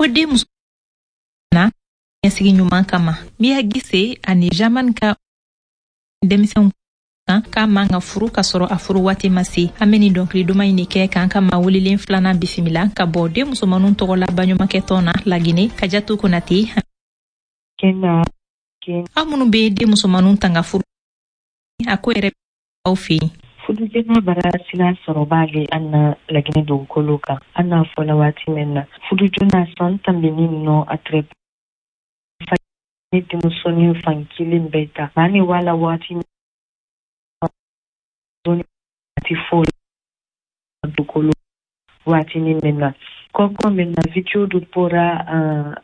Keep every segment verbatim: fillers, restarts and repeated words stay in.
den muso na ɲɛsigi ɲuman kama. Miya Gise ani Jaman ka denmisɛnw kan k'a man ka furu ka sɔrɔ a furu waati ma se. An bɛ nin dɔnkili duman in de kɛ k'an ka maa welelen filanan bisimila ka bɔ den musomaninw tɔgɔ la baɲumankɛtɔn na Lagine, Kajatu Konate. Aw minnu bɛ den musomaninw tanga furu, a ko yɛrɛ aw fɛ yen. Fudujɛna bara sila sɔrɔba le an na Laginɛ dugukolo kan. An n'a fɔla waati min na fudujona san tanbini nɔ a tɛrɛ ni denmusonin fan kelen bɛɛ ta maa ni wala waati waati fo dugukolo waatinin min na kɔkɔ min na video dɔ bɔra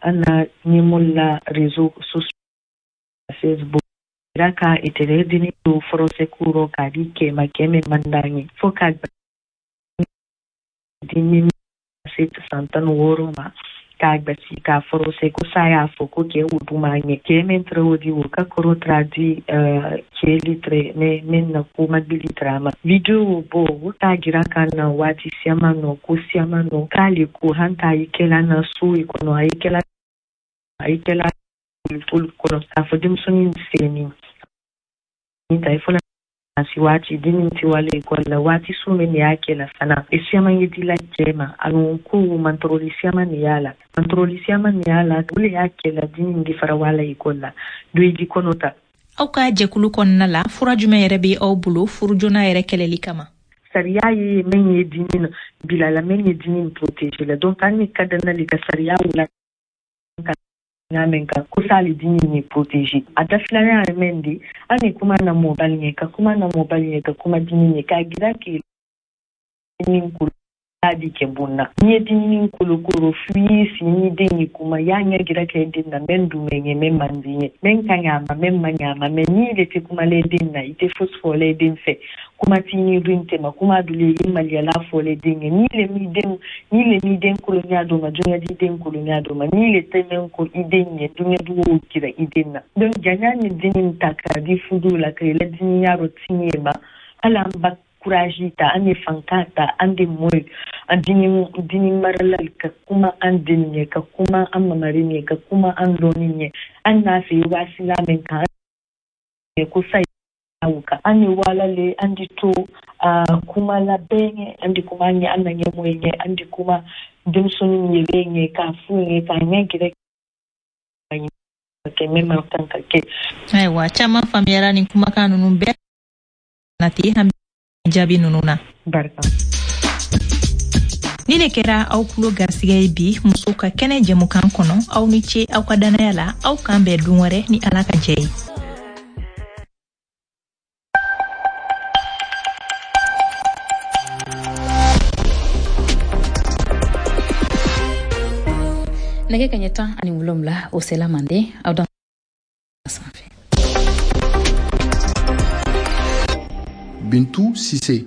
an na ɲɛmɔgɔ la réseaux sociaux Facebook ra ka itere dini do forose kuro ka di kema keme mandanye fo ka dini se san tan wɔɔrɔ ma k'a gbasi k'a forose ko sa y'a fɔ ko kɛ o duma ɲɛ kɛ min tɛrɛ o di o ka kɔrɔ tara di kɛ litre ne min na ko ma bi litre ma video bɔ o t'a jira ka na waati siama nɔ ko siama nɔ k'ale ko han t'a yi kɛla na so i kɔnɔ a yi kɛla a yi kɛla olu kɔnɔ k'a fɔ denmisɛnnin senni ni ta i fɔlɔ si waati denni ti wale ekɔli la waati su min de y'a kɛ la fana e siaman ye dila cɛ ma a ko mantoroli siaman de y'a la mantoroli siaman de y'a la o le y'a kɛ la denni de fara wala ekɔli la do i di kɔnɔ ta. Aw ka jɛkulu kɔnɔna la fura jumɛn yɛrɛ bɛ aw bolo furu joona yɛrɛ kɛlɛli kama? Sariya ye min ye dimi bila la min ye dimi protéger la donc an ni ka danna ka sariya wula ka min kan ko sali dimi ni protéger a da filanan ye min di an ni kuma na mɔbali ɲɛ ka kuma na mɔbali ɲɛ ka kuma dimi ɲɛ k'a jira k'e ni kolo di kɛ bon na n'i ye dimi kolokolo f'i y'i sigi n'i den ye kuma y'a ɲɛ jira kɛ den na mɛ dun bɛ ɲɛ mɛ man di ɲɛ mɛ ka ɲɛ a ma mɛ man ɲɛ a ma mɛ n'i de tɛ kumalen den na i tɛ fosi fɔlen den fɛ kuma t'i ni dun tɛ ma kuma dun i maliyala fɔlen den ye n'i le m'i den n'i le m'i den kolonya dɔ ma dunya di den kolonya dɔ ma n'i le tɛ mɛ ko i den ɲɛ dunya dugu jira i den na donc janya ni den ta k'a di fudu la ka yɛlɛ dimiya rɔ tiɲɛ ma hali an ba courage ta an ye fanka ta an de mɔye an dini dini marala ka kuma an den ɲɛ ka kuma an mamari ɲɛ ka kuma an dɔɔni ɲɛ an n'a fɛ waasila min kan ko sa kan an ye wala le an di to kuma la bɛɛ ɲɛ an di kuma ɲɛ an na ɲɛmɔgɔ ɲɛ an di kuma denmisɛnnin yɛrɛ ɲɛ k'a f'u ɲɛ k'a ɲɛ gɛrɛ kɛ min man kan ka kɛ. Ayiwa caman faamuyara nin kumakan ninnu bɛɛ na ten an jaabi ninnu na. Barika. Ni ne kɛra aw kulo garisigɛ ye bi musow ka kɛnɛ jɛmukan kɔnɔ, aw ni ce aw ka danaya la, aw k'an bɛn don wɛrɛ ni Ala ka jɛ ye. Nɛgɛ kaɲɛ tan ani wolonwula o sela manden aw dan sanfɛ. Bintu Sise.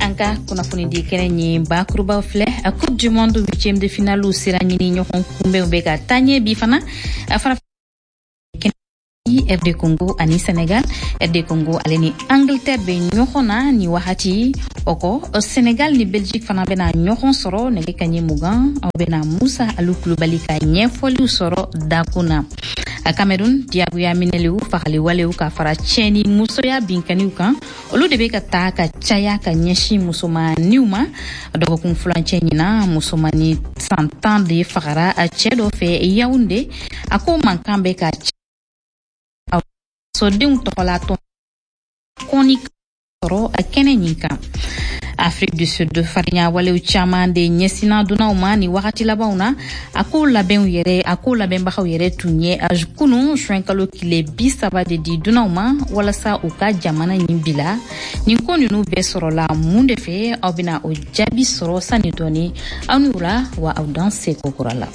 An ka kunnafonidi kɛnɛ ɲi bakurubaw filɛ. A Coupe du Monde huitième de finale sera ɲini ɲɔgɔn kunbɛnw bɛ ka taa ɲɛ bi fana. A fara R D Congo ani Sénégal. R D Congo ale ni Angleterre bɛ ɲɔgɔn na ni wagati o kɔ. Sénégal ni Belgique fana bɛna ɲɔgɔn sɔrɔ nɛgɛ kaɲɛ mugan. Aw bɛna Musa Alu Kulubali ka ɲɛfɔliw sɔrɔ dakun na. A Cameroun diyagoya minɛliw fagali walew ka fara tiɲɛni musoya binkaniw kan olu de bɛ ka taa ka caya ka ɲɛsin musomaniw ma. Dɔgɔkun furancɛ ɲinan musomani san tan de fagara a cɛ dɔ fɛ Yaoundé. A ko mankan bɛ ka sodenw tɔgɔla tɔn kɔni sɔrɔ a kɛnɛ ɲin kan. Afrique du Sud farinya walew caman de ɲɛsinna dunanw ma ni wagati labanw na. A ko labɛnw yɛrɛ a ko labɛnbagaw yɛrɛ tun ye kunun sunkalo tile bi saba de di dunanw ma walasa u ka jamana ɲin bila. Nin ko ninnu bɛɛ sɔrɔla mun de fɛ? Aw bɛna o jaabi sɔrɔ sani dɔɔni. Aw ni wula wa aw dan seko kura la.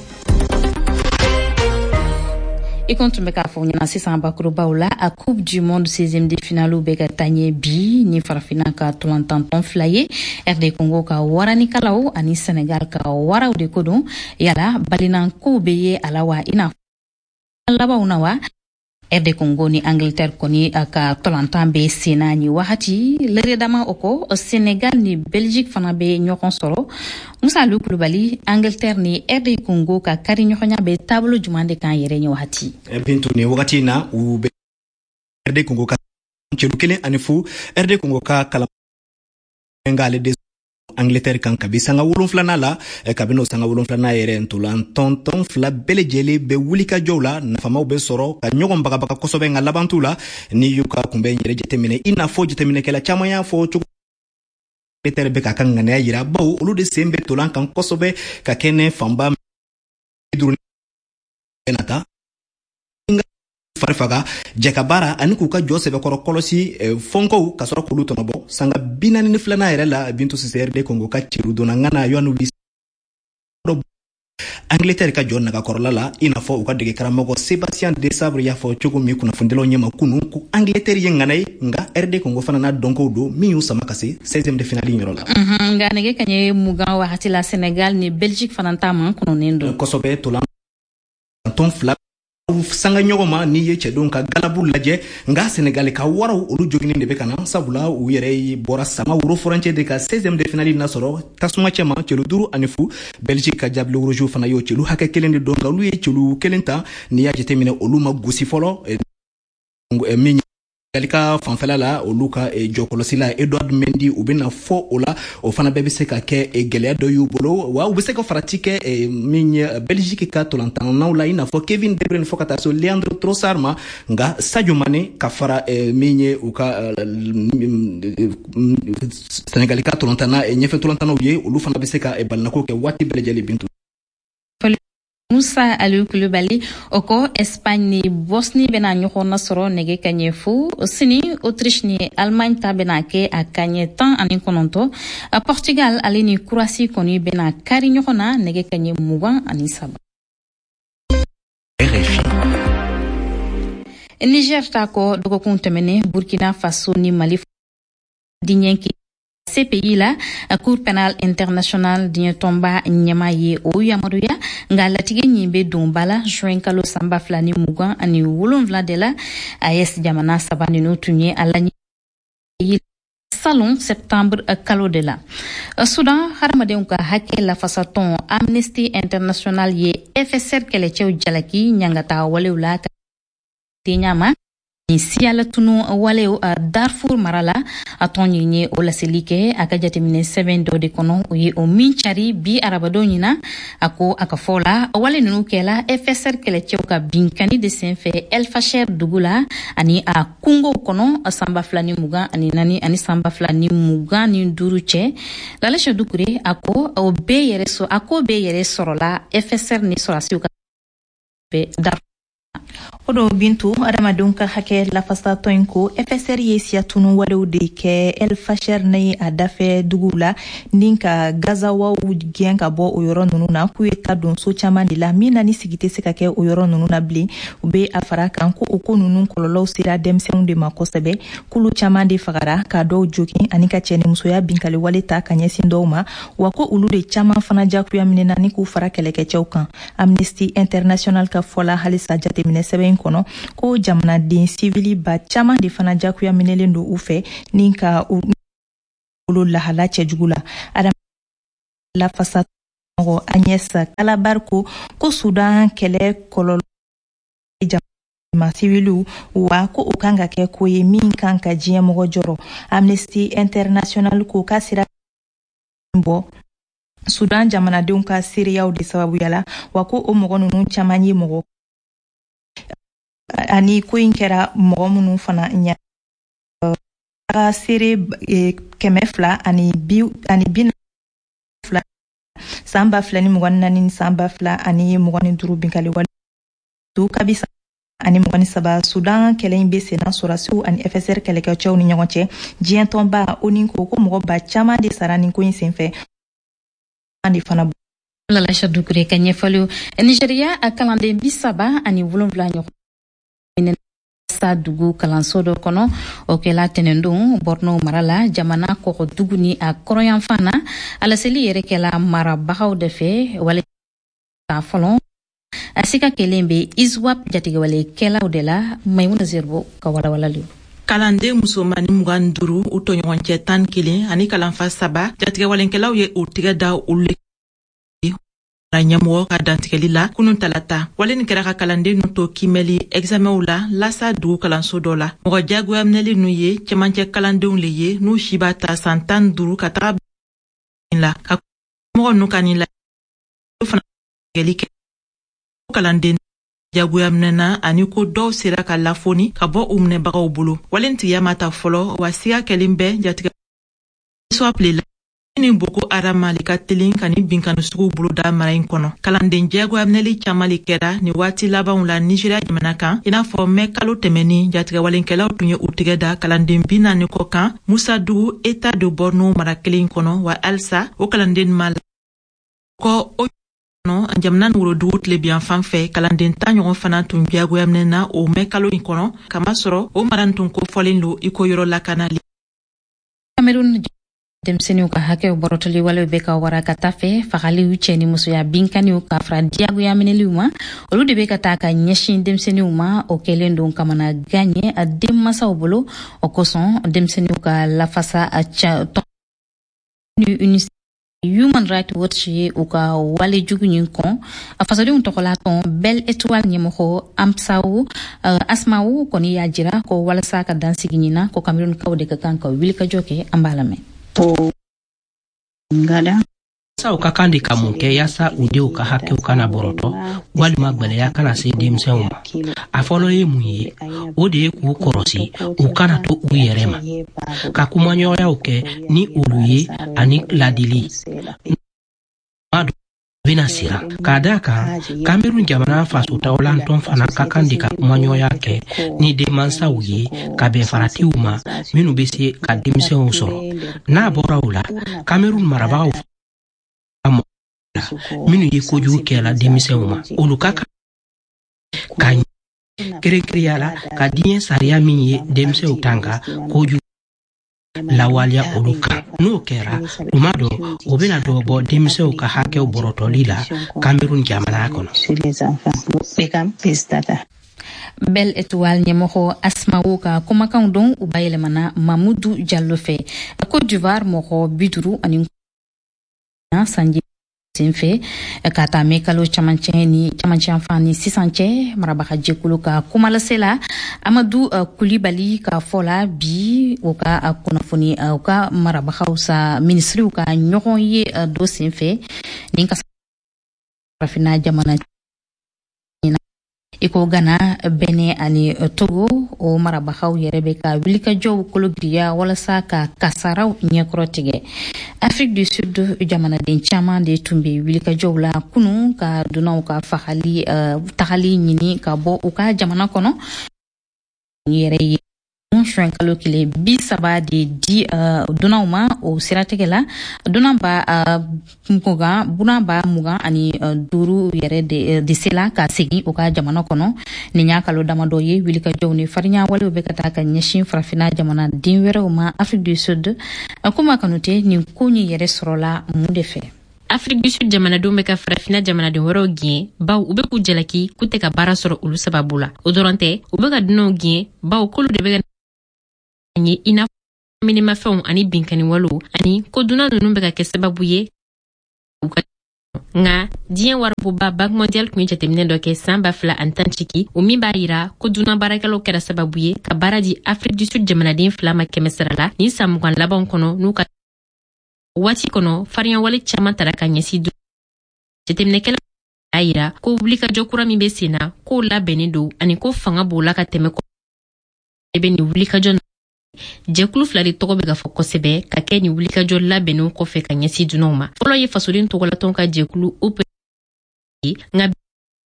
I kun tun bɛ k'a fɔ ɲɛna sisan bakurubaw la a Coupe du Monde seizième de finale bɛ ka taa ɲɛ bi ni farafinna ka tolantantɔn fila ye R D Congo ka waranikalaw ani Sénégal ka waraw de ko don. Yala balinankow bɛ ye a la wa i n'a fɔ labanw na wa? R D Congo ni Angleterre kɔni ka tolantan bɛ senna ni wagati lɛrɛ dama. O kɔ, Senegal ni Belgique fana bɛ ɲɔgɔn sɔrɔ. Musa Alu Kulubali, Angleterre ni R D Congo ka kari ɲɔgɔnya bɛ taabolo juman de kan yɛrɛ ni wagati? Bintu, ni wagati in na, u bɛ R D Congo ka celu kelen ani fu. R D Congo ka kalan ale de Angleterre kan kabi sanga wolonfilanan la. Kabini o sanga wolonfilanan yɛrɛ, ntolan tɔntɔn fila bɛɛ lajɛlen bɛ wulikajɔw la, nafamaw bɛ sɔrɔ ka ɲɔgɔn bagabaga kosɛbɛ, nka laban t'u la. Ni y'u ka kunbɛn yɛrɛ jateminɛ, i n'a fɔ jateminɛkɛla caman y'a fɔ cogo, Angleterre bɛ k'a ka ŋaniya yira, bawo olu de sen bɛ tolan kan kosɛbɛ ka kɛnɛ fanba duuru na ta fari faga jɛ baara ani k'u ka jɔ sɛbɛkɔrɔ kɔlɔsi fɔnkow ka sɔrɔ k'olu tɔnɔbɔ. Sanga bi naani ni filanan yɛrɛ la, Bintu Sise, R D Congo ka celu donna ŋana Yoane Wissa Angleterre ka jɔ nagakɔrɔla la, i n'a fɔ u ka dege karamɔgɔ Sébastien Desabre y'a fɔ cogo min kunnafonidilaw ɲɛma kunu ko Angleterre ye ŋana ye, nka R D Congo fana n'a dɔnkow don min y'u sama ka se seizième de finale yɔrɔ la. Nka nɛgɛ kaɲɛ mugan wagati la, Sénégal ni Belgique fana ta man kɔnɔnen don. Kosɛbɛ, tolan tɔn fila sanga ɲɔgɔn ma. N'i ye cɛdenw ka galabu lajɛ, nka Senegali ka waraw, olu joginen de bɛ ka na, sabula u yɛrɛ bɔra sama woro furancɛ de ka seizième de finale nasɔrɔ tasuma cɛma celu duuru ani fu. Belgique ka Diables Rouges fana y'o celu hakɛ kelen de don, nka olu ye celu kelen ta. N'i y'a jateminɛ, olu ma gosi fɔlɔ. Min Senegali ka fanfɛla la, olu ka jɔkɔlɔsila Edouard Mendy, u bɛna fɔ o la, o fana bɛɛ bɛ se ka kɛ gɛlɛya dɔ y'u bolo, wa u bɛ se ka farati kɛ min ye Belgique ka tolantannaw la, i n'a fɔ Kevin De Bruyne fo ka taa se Leandro Trossard ma. Nka Sadio Mane ka fara min ye u ka Senegali ka tolantanna ɲɛfɛ tolantannaw ye, olu fana bɛ se ka balinako kɛ waati bɛɛ lajɛlen, Bintu. Musa Aliou Kulubali, o kɔ, Espagne ni Bosnie bɛna ɲɔgɔn nasɔrɔ nɛgɛ kaɲɛ fu sini. Autriche ni Allemagne ta bɛna kɛ a kaɲɛ tan ani kɔnɔntɔ. Portugal ale ni Croatie kɔni bɛna kari ɲɔgɔn na nɛgɛ kaɲɛ mugan ani saba. R F I. Niger ta kɔ, dɔgɔkun tɛmɛnen, Burkina Faso ni Mali diɲɛ C P I la, Cour pénale internationale, diɲɛ tɔnba ɲɛma ye o yamaruya. Nka latigɛ ɲin bɛ don ba la juin kalo san ba fila ni mugan ani wolonwula de la. A E S jamana saba ninnu tun ye a laɲini salon septembre kalo de la. Sudan hadamadenw ka hakɛ lafasatɔn Amnesty International ye F S R kɛlɛcɛw jalaki ɲangata walew la ka ɲama ni siyalatunu walew Darfur mara la. A tɔn ɲin ye o laseli kɛ a ka jateminɛ sɛbɛn dɔ de kɔnɔ, o ye o min cari bi arabadon ɲina. A ko a ka fɔ la, wale ninnu kɛla F S R kɛlɛcɛw ka binkani de senfɛ El Fasher dugu la ani a kungow kɔnɔ san ba fila ni mugan ani naani ani san ba fila ni mugan ni duuru cɛ. Lalɛsɛ Dukure, a ko o bɛɛ yɛrɛ sɔrɔ, a ko bɛɛ yɛrɛ sɔrɔla F S R ni sɔrɔdasiw ka Darfur. O do, Bintu, adamadenw ka hakɛ lafasatɔ in ko F S R ye siyatunu walew de kɛ El Fasher ni a dafɛ duguw la ni ka gazawaw gɛn ka bɔ o yɔrɔ nunu na, k'u ye ta don so caman de la min na ni sigi tɛ se ka kɛ o yɔrɔ nunu na bilen. U be a fara kan ko o ko nunu kɔlɔlɔw sera denmisɛnw de ma kosɛbɛ, k'olu caman de fagara, ka dɔw jogin ani ka cɛnimusoya binkali wale ta ka ɲɛsin dɔw ma, wa ko olu de caman fana jagoya minɛna ni k'u fara kɛlɛkɛcɛw kan. Amnesty International ka fɔla halisa jateminɛ sɛbɛn kɔnɔ ko jamanaden sivili ba caman de fana jagoya minɛlen don u fɛ ni ka u bolo lahala cɛjugu la. Lafasa mɔgɔ Agnès Callamard ko ko Sudan kɛlɛ kɔlɔlɔ ma siviliw, wa ko o kan ka kɛ ko ye min kan ka diɲɛ mɔgɔ jɔrɔ. Amnesty International ko k'a sera bɔ Sudan jamanadenw ka seereyaw de sababuya la, wa ko o mɔgɔ ninnu caman ye mɔgɔ ani ko in kɛra mɔgɔ minnu fana ɲɛ ka seere kɛmɛ fila ani bi ani bi fila san ba fila ni mugan ni naani ni san ba fila ani mugan ni duuru binkali wale kabi ani mugan ni saba. Sudan kɛlɛ in bɛ senna sɔrɔdasiw ani F S R kɛlɛkɛcɛw ni ɲɔgɔn cɛ. Diɲɛ tɔnba ONU ko ko mɔgɔ ba caman de sara nin ko in senfɛ de fana. Lalasha Dukure ka ɲɛfɔliw. Nigeriya, a kalanden bi saba ani wolonwula ɲɔgɔn sa dugu kalanso dɔ kɔnɔ, o kɛla tɛnɛndon Borno mara la, jamana kɔgɔdugu ni a kɔrɔyanfan na. A laseli yɛrɛ kɛla marabagaw de fɛ wale fɔlɔ. A sika kelen bɛ ISWAP jatigɛwalekɛlaw de la. Maimuna Zerbo ka walawalali. Kalanden musomani mugan duuru, u tɔɲɔgɔncɛ tan kelen ani kalanfa saba, jatigɛwalenkɛlaw ye u tigɛ da olu ɲɛmɔgɔ ka dantigɛli la kunun talata. Wale nin kɛra ka kalanden nu to kimɛli examenw la Lasa dugu kalanso dɔ la. Mɔgɔ jagoya minɛli nu ye cɛmancɛ kalandenw le ye, n'u si b'a ta san tan duuru ka taga la ka mɔgɔ nu ka nin la fana kɛ. Kalanden jagoya minɛna ani ko dɔw sera ka lafoni ka bɔ u minɛbagaw bolo. Wale tigiya ma ta fɔlɔ, wa siga kɛlen bɛ jatigɛ ISWAP le la ni Boko Haram le ka telin ka ni binkani suguw boloda mara in kɔnɔ. Kalanden jagoya minɛli caaman le kɛra ni waati labanw la Nigeriya jamana kan, i n'a fɔ mɛ kalo tɛmɛni, jatigɛwalenkɛlaw tun ye u tigɛ da kalanden bi naani kɔ kan Musa dugu, État de Borno mara kelen kɔnɔ, wa halisa o kalanden ma kɔ o jamana ni worodugu tilebiyan fan fɛ. Kalanden tan ɲɔgɔn fana tun jagoya minɛna o mɛ kalo in kɔnɔ, kamasɔrɔ o mara tun kofɔlen lo i ko yɔrɔ lakanali. Cameroun, denmisɛnninw ka hakɛw bɔrɔtɔli walew bɛ ka wara ka taa fɛ. Fagaliw, cɛ ni musoya binkaniw ka fara diyagoya minɛliw ma, olu de bɛ ka taa ka ɲɛsin denmisɛnninw ma. O kɛlen don kamana gan ye denmansaw bolo. O kosɔn, denmisɛnninw ka lafasa tɔn ni Human Rights Watch ye u ka wale jugu ɲin kɔn. A fasodenw tɔgɔla tɔn Belle Étoile ɲɛmɔgɔ Amsawu Asmawu kɔni y'a jira ko walasa ka dansigi ɲin ko Camerounkaw de ka kan ka wulikajɔ kɛ. An b'a lamɛn. Masaw ka kan de ka mun kɛ yaasa u denw ka hakɛw kana bɔrɔtɔ walima gwɛlɛya kana se denmisɛnw ma? A fɔlɔ ye mun ye? O de ye k'u kɔrɔsi, u kana to u yɛrɛ ma, ka kumaɲɔgɔnyaw kɛ ni olu ye ani ladili bena siran. K'a daa kan, Kamerun jamana fasotawolantɔn fana ka kan de ka kumaɲɔgɔnya kɛ ni denmansaw ye ka bɛn faratiw ma minnu be se ka denmisɛnw sɔrɔ. N'a bɔra o la, Kamerun marabagaw la minnu ye kojugu kɛla denmisɛnw ma, olu ka kan ka kɛrɛnkɛrɛnya la ka diɲɛ sariya min ye denmisɛnw tanga kojugu lawaleya olu kan. N'o kɛra tuma dɔ, o bena dɔ bɔ denmisɛnw ka hakɛw bɔrɔtɔli la Kamerun jamana kɔnɔ. Belle Étoile ɲɛmɔgɔ Asmawo ka kumakanw don, u bayɛlɛmana Mamudu Jallo fɛ. Côte d'Ivoire, mɔgɔ bi duuru ani sanji senfɛ ka taa mɛ kalo camancɛ ni camancɛ fan ni sisan cɛ. Marabaga jɛkulu ka kumalase la Amadu Kulibali ka fɔ la bi, u ka kunnafoni, u ka marabagaw sa minisiriw ka ɲɔgɔn ye dɔ senfɛ nin ka farafinna jamana i ko Gana, Bɛnɛ ani Togo, o marabagaw yɛrɛ bɛ ka wulikajɔw kologiriya walasa ka kasaraw ɲɛkɔrɔ tigɛ. Afrique du Sud, jamanaden caman de tun bɛ wulikajɔw la kunun ka dunanw ka fagali tagali ɲini ka bɔ u ka jamana kɔnɔ yɛrɛ ye. Juin kalo tile bi saba de di dunanw ma. O siratigɛ la, dunan ba mugan dunan ba mugan ani duuru yɛrɛ de, de sela ka segin u ka jamana kɔnɔ. Nin y'a kalo damadɔ ye wulikajɔw ni farinya walew bɛ ka taa ka ɲɛsin farafinna jamanaden wɛrɛw ma Afrique du Sud. Kuma Kanute, nin ko nin yɛrɛ sɔrɔla mun de fɛ? Afrique du Sud jamanadenw bɛ ka farafina jamanaden wɛrɛw gɛn, baw u bɛ k'u jalaki k'u tɛ ka baara sɔrɔ olu sababu la. O dɔrɔn tɛ, u bɛ ka dunanw gɛn, baw k'olu de bɛ ka ye i n'a minimafɛnw ani binkaniwalew, ani ko dunan ninnu bɛ ka kɛ sababu ye u ka. Nka diɲɛ waribonba Banque mondiale tun ye jateminɛ dɔ kɛ san ba fila ani tan ciki, o min b'a yira ko dunan baarakɛlaw kɛra sababu ye ka baara di Afrique du Sud jamanaden fila ma kɛmɛ sara la nin san mugan labanw kɔnɔ. N'u ka waati kɔnɔ, farinyawale caman tara ka ɲɛsin. Jateminɛkɛla y'a yira ko wulikajɔ kura min bɛ sen na, k'o labɛnnen don ani ko fanga b'o la ka tɛmɛ de bɛ nin wulikajɔ. Jɛkulu fila de tɔgɔ bɛ ka fɔ kosɛbɛ ka kɛ nin wulikajɔ labɛnnenw kɔfɛ ka ɲɛsin dunanw ma. Fɔlɔ ye fasoden tɔgɔlatɔn ka jɛkulu O P ye, nka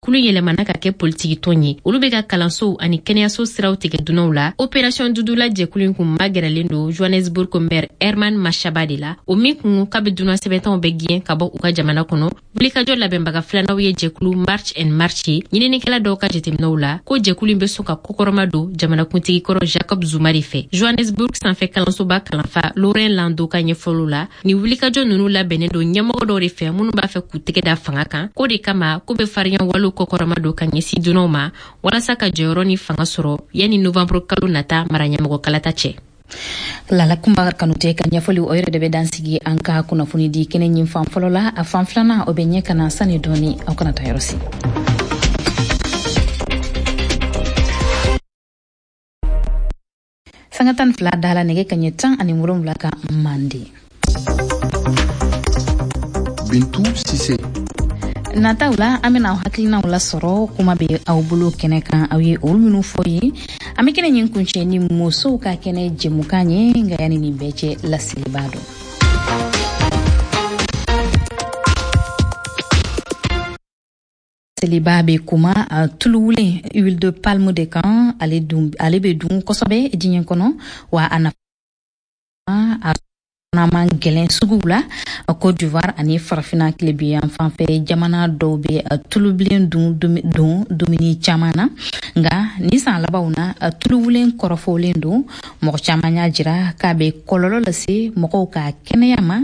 kulu yɛlɛmana ka kɛ politikitɔn ye. Olu bɛ ka kalansow ani kɛnɛyaso siraw tigɛ dunanw la. Opération Dudula jɛkulu in kun magɛrɛlen don Johannesburg maire Herman Mashaba de la, o min kun k'a bɛ dunan sɛbɛntanw bɛ gɛn ka bɔ u ka jamana kɔnɔ. Wulikajɔ labɛnbaga filananw ye jɛkulu March and March ye. Ɲininikɛla dɔw ka jateminɛw la, ko jɛkulu in bɛ sɔn ka kɔkɔrɔma don jamanakuntigi kɔrɔ Jacob Zuma de fɛ. Johannesburg sanfɛ kalansoba kalanfa Laurent Lando ka ɲɛfɔliw la, nin wulikajɔ ninnu labɛnnen don ɲɛmɔgɔ dɔw de fɛ minnu b'a fɛ k'u tɛgɛ da fanga kan. K'o de kama k'u bɛ farinya walew kɔkɔrɔma don ka ɲɛsin dunanw ma walasa ka jɔyɔrɔ ni fanga sɔrɔ yanni novembre kalo nata maraɲɛmɔgɔ kalata cɛ. Lala Kunba Kanute ka ɲɛfɔli o yɛrɛ de bɛ dan sigi an ka kunnafoni di kɛnɛ ɲin fan fɔlɔ la. A fan filanan o bɛ ɲɛ ka na sani dɔɔni, aw kana taa yɔrɔ si. Sanga tan fila da la nɛgɛ kaɲɛ tan ani wolonwula kan Mande. Bintu Sise. Nataw la, an bɛna aw hakilinaw lasɔrɔ. Kuma bɛ aw bolo kɛnɛ kan, aw ye olu minnu fɔ ye. An bɛ kɛnɛ ɲin kuncɛ ni musow ka kɛnɛ jɛmukan ye, nka yanni nin bɛɛ cɛ, laseliba dɔn. Seliba bɛ kuma tuluwulen huile de palme de kan. Ale dun, ale bɛ dun kosɛbɛ diɲɛ kɔnɔ, wa a nafa a man gɛlɛn suguw la. Côte d'Ivoire ani Farafinna tilebiyan fanfɛ jamana dɔw bɛ tulubilen dun don dumuni caman na, nka ni san labanw na, tuluwulen kɔrɔfɔlen don. Mɔgɔ caman y'a jira k'a bɛ kɔlɔlɔ lase mɔgɔw ka kɛnɛya ma.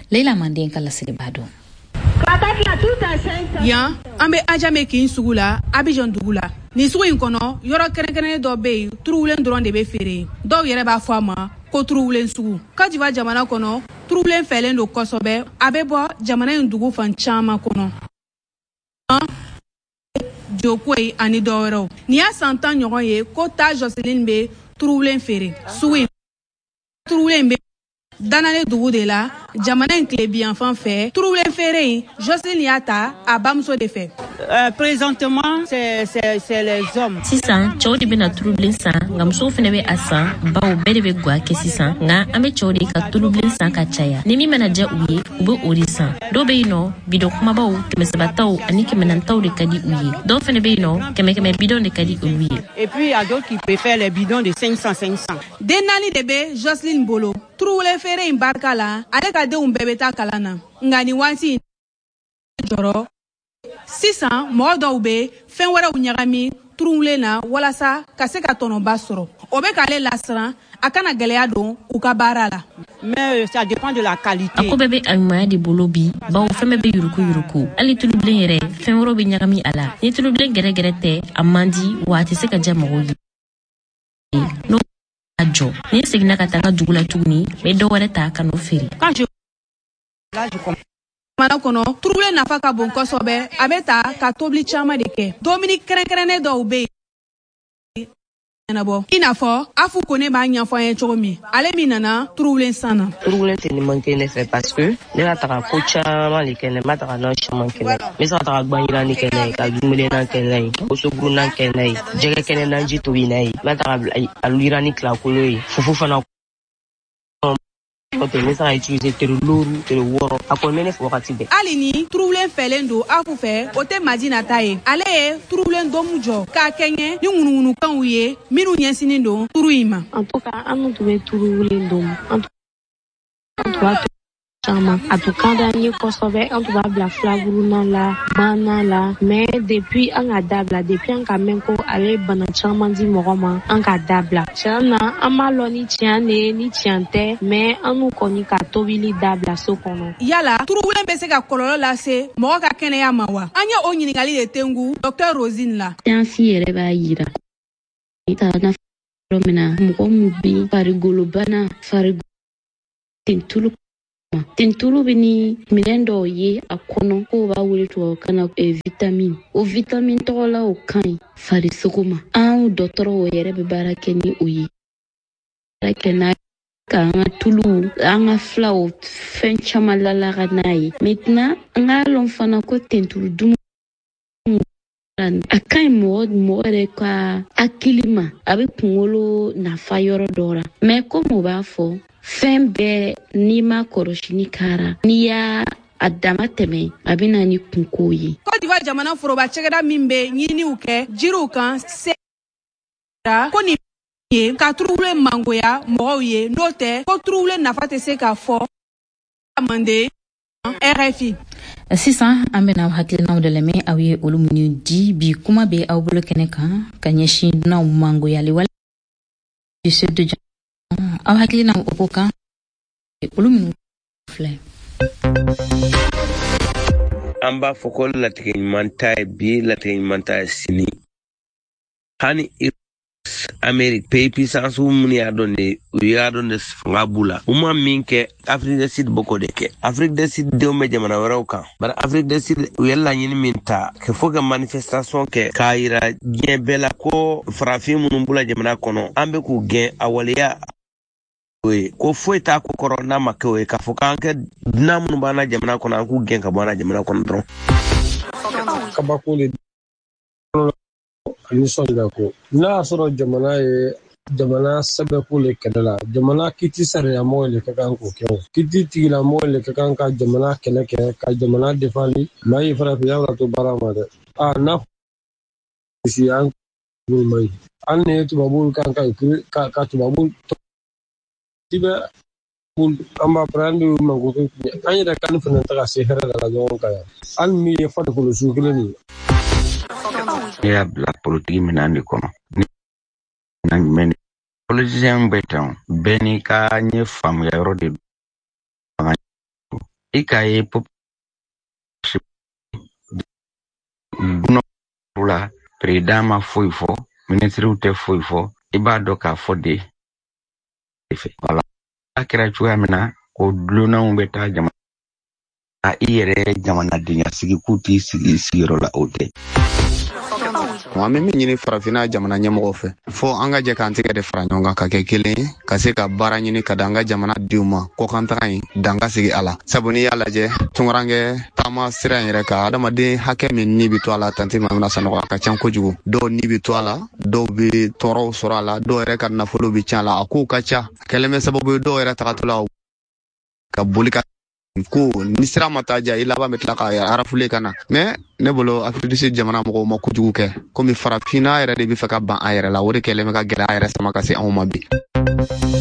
Leila Manden ka laseliba don. Yan, an bɛ Ajame kin sugu la, Abidjan dugu la. Nin sugu in kɔnɔ, yɔrɔ kɛrɛnkɛrɛnnen dɔ bɛ yen, turuwulen dɔrɔn de bɛ feere yen. Dɔw yɛrɛ b'a fɔ a ma ko turuwulen sugu. Côte d'Ivoire jamana kɔnɔ, turuwulen fɛlen don kosɛbɛ. A bɛ bɔ jamana in dugu fan caman kɔnɔ, Jokoyi ani dɔ wɛrɛw. Nin y'a san tan ɲɔgɔn ye ko Ta Joseline bɛ turuwulen feere sugu in. Turuwulen bɛ Danane dugu de la, jamana in tilebiyanfan fɛ. Turuwulen feere in, Joseline y'a ta a bamuso de fɛ. Euh, présentement, c'est, c'est, c'est les hommes. Sisan, cɛw de bɛna tulubilen san, nka musow fɛnɛ bɛ a san, bawo bɛɛ de bɛ gwa kɛ sisan. Nka an bɛ cɛw de ka tulubilen san ka caya. Ni min mana diya u ye, u bɛ o de san. Dɔw bɛ yen nɔ, bidɔn kumabaw, kɛmɛ saba taw ani kɛmɛ naani taw de ka di u ye. Dɔw fɛnɛ bɛ yen nɔ, kɛmɛ kɛmɛ bidɔn de ka di olu ye. Et puis il y a d'autres qui préfèrent les bidons de cinq cents cinq cents. Den naani de bɛ Joseline bolo. Turuwulen feere in barika la, ale ka denw bɛɛ bɛ taa kalan na. Nka nin waati in jɔrɔ sisan, mɔgɔ dɔw bɛ fɛn wɛrɛw ɲagami turuwulen na walasa ka se ka tɔnɔba sɔrɔ. O bɛ k'ale lasiran a kana gɛlɛya don u ka baara la. Mais ça dépend de la qualité. A ko bɛɛ bɛ a ɲumanya de bolo bi, bawo fɛn bɛɛ bɛ yuruku yuruku. Hali tulubilen yɛrɛ, fɛn wɛrɛw bɛ ɲagami a la. Ni tulubilen gɛrɛgɛrɛ tɛ, a man di wa a tɛ se ka diya mɔgɔw ye. N'o a jɔ, ni seginna ka taa n ka dugu la tuguni, n bɛ dɔ wɛrɛ ta ka n'o feere. Jamana kɔnɔ, turuwulen nafa ka bon kosɛbɛ. A bɛ ta ka tobili caman de kɛ. Dumuni kɛrɛnkɛrɛnnen dɔw bɛ yen ɲɛnabɔ, i n'a fɔ Afu Kone b'a ɲɛfɔ an ye cogo min, ale min nana turuwulen san na. Turuwulen tɛ ni man kɛ ne fɛ parce que ne ka taga ko caman de kɛ ne ma taga n'a caman kɛ n bɛ se ka taga gbanjiranni kɛ n'a ye, ka dumuni kɛ n'a ye, wosoburunan kɛ n'a ye, jɛgɛ kɛnɛ naji tobi n'a ye, n bɛ taga aluyirani tilakolo ye, fufu fana n bɛ se ka utiliser tere looru tere wɔɔrɔ. A kɔni bɛ ne fɛ wagati bɛɛ. Hali ni turuwulen fɛlen don Afu fɛ, o tɛ Madina ta ye. Ale ye turuwulen domu jɔ k'a kɛɲɛ ni ŋunuŋunukanw ye minnu ɲɛsinnen don turu in ma. En tout cas, an tun bɛ turuwulen domu, an tun b'a caman, a tun ka d'an ye kosɛbɛ. An tun b'a bila filaburunan la, banna la, mais depuis an ka dabila, depuis an ka mɛn ko a bɛ bana caman di mɔgɔ ma, an ka dabila. Tiɲɛ na, an b'a lɔn ni tiɲɛ de ye ni tiɲɛ tɛ, mais an n'u kɔni ka tobili dabila so kɔnɔ. Yala turuwulen bɛ se ka kɔlɔlɔ lase mɔgɔ ka kɛnɛya ma wa? An ye o ɲininkali de tengu Docteur Rosine la. Siyansi yɛrɛ b'a yira yɔrɔ min na, mɔgɔ min bɛ farigolobana, farigolo tentulu tentulu bɛ ni minɛn dɔw ye a kɔnɔ k'o b'a wele tubabukan na vitamine. O vitamine tɔgɔla o ka ɲi farisogo ma. Anw dɔgɔtɔrɔw yɛrɛ bɛ baara kɛ ni o ye, baara kɛ n'a k'an ka tuluw, an ka filaw, fɛn caman lalaga n'a ye. Maintenant, an k'a lɔn fana ko tentulu dumuni a ka ɲi mɔgɔ mɔgɔ yɛrɛ ka hakili ma, a bɛ kunkolo nafa yɔrɔ dɔ la. Mais komi o b'a fɔ, fɛn bɛɛ n'i ma kɔlɔsili kɛra, n'i y'a a dama tɛmɛ, a bɛ na ni kunko ye. Côte d'Ivoire jamana foroba cakɛda min bɛ ɲininiw kɛ jiriw kan se ko nin ye ka turuwulen mangoya mɔgɔw ye, n'o tɛ ko turuwulen nafa tɛ se ka fɔ. Mande, R F I. Sisan an bɛna aw hakilinaw de lamɛn, aw ye olu minnu di. Bi kuma bɛ aw bolo kɛnɛ kan ka ɲɛsin dunanw mangoyali wale du sud de, aw hakilinaw o ko kan, olu minnu filɛ. An b'a fɔ ko latigɛ ɲuman ta ye bi, latigɛ ɲuman ta ye sini. Hani Amérique, pays puissance minnu y'a dɔn de, u y'a dɔn de fanga b'u la, u ma min kɛ Afrique du Sud bɛ k'o de kɛ. Afrique du Sud denw bɛ jamana wɛrɛw kan, bari Afrique du Sud, u ye laɲini min ta kɛ fo ka manifestation kɛ k'a yira diɲɛ bɛɛ la ko farafin minnu b'u la jamana kɔnɔ, an bɛ k'u gɛn, a waleya o ye ko foyi t'a ko kɔrɔ n'a ma kɛ o ye, k'a fɔ k'an kɛ dunan minnu b'an na jamana kɔnɔ, an k'u gɛn ka bɔ an na jamana kɔnɔ dɔrɔn. Kabako de a nisɔndiya ko n'a y'a sɔrɔ jamana ye jamana sɛbɛko le kɛlɛ la, jamana kiti sariyamɔgɔ le ka kan k'o kɛ, o kiti tigilamɔgɔ le ka kan ka jamana kɛlɛ kɛ ka jamana defandi. Maa ye farafinya la to baara ma dɛ. A n'a si an ma ɲi, hali ni ye tubabuw kan ka ka ka tubabu i bɛ an b'a fɔ an de mako an yɛrɛ kan fana tɛ ka se hɛrɛ la ɲɔgɔn kan yan, hali min ye farikolo su kelen nin ye. Ne y'a bila politiki minɛn de kɔnɔ. Ni jumɛn politisiyɛn bɛ tan, bɛɛ n'i ka ɲɛ faamuya yɔrɔ de don. I k'a ye dunanw la, président ma foyi fɔ, minisiriw tɛ foyi fɔ, i b'a dɔn k'a fɔ de fɛ. Wala a kɛra cogoya min na ko dulonnanw bɛ taa jamana i yɛrɛ jamanadenya sigi k'u t'i sigi sigiyɔrɔ la, o tɛ. An bɛ min ɲini farafinna jamana ɲɛmɔgɔw fɛ, fo an ka jɛ k'an tɛgɛ de fara ɲɔgɔn kan ka kɛ kelen ye, ka se ka baara ɲini ka da an ka jamana denw ma, kɔkantaga in dan ka sigi a la. Sabu n'i y'a lajɛ, tunkarankɛ taama sira in yɛrɛ kan, adamaden hakɛ min ni bɛ to a la, Tanti Mamina Sanɔgɔ, a ka ca kojugu. Dɔw ni bɛ to a la, dɔw bɛ tɔɔrɔw sɔrɔ a la, dɔw yɛrɛ ka nafolo bɛ tiɲɛ a la, a kow ka ca. A kɛlen bɛ sababu ye dɔw yɛrɛ tagatɔ la ka boli ka ko ni sira ma taa ja, i laban bɛ tila ka arafule ka na. Mais ne bolo, Afrique du Sud jamana mɔgɔw ma kojugu kɛ, komi farafinna yɛrɛ de bɛ fɛ ka ban a yɛrɛ la, o de kɛlen bɛ ka gɛlɛya yɛrɛ sama ka se anw ma bi.